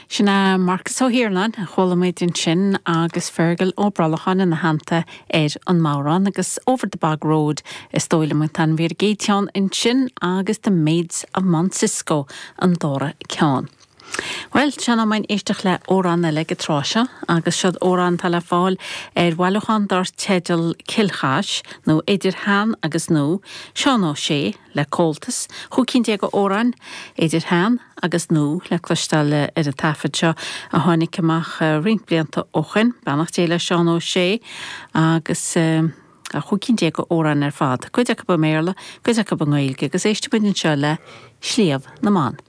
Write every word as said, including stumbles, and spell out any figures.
Sin é Marcus Ó hIarnáin a chuala muid ansin agus Fergal Ó Brollacháin ina theannta ar an mbodhrán agus Over the Bog Road is dóigh liom an t-ainm ar an gcéad cheann ansin agus The Maids of Mount Cisco an dara ceann. Well sin am éisteacht le amhrán eile ag an tráth seo agus seod amhrán atá le fáil ar bhailiúchán dar teideal Cill Chais nó idir shean agus nua Seán Ó Sé le Comhaltas chúig cinn déag d'amhráin idir shean agus nua le cloisteáil ar an taifead seo a tháinig amach roinnt blianta ó shin beannacht Dé le Seán Ó Sé agus a chúig cinn déag d'amhráin ar fad, cuid acu i mBéarla, cuid acu i nGaeilge agus éistfimid anseo le Sliabh na mBan.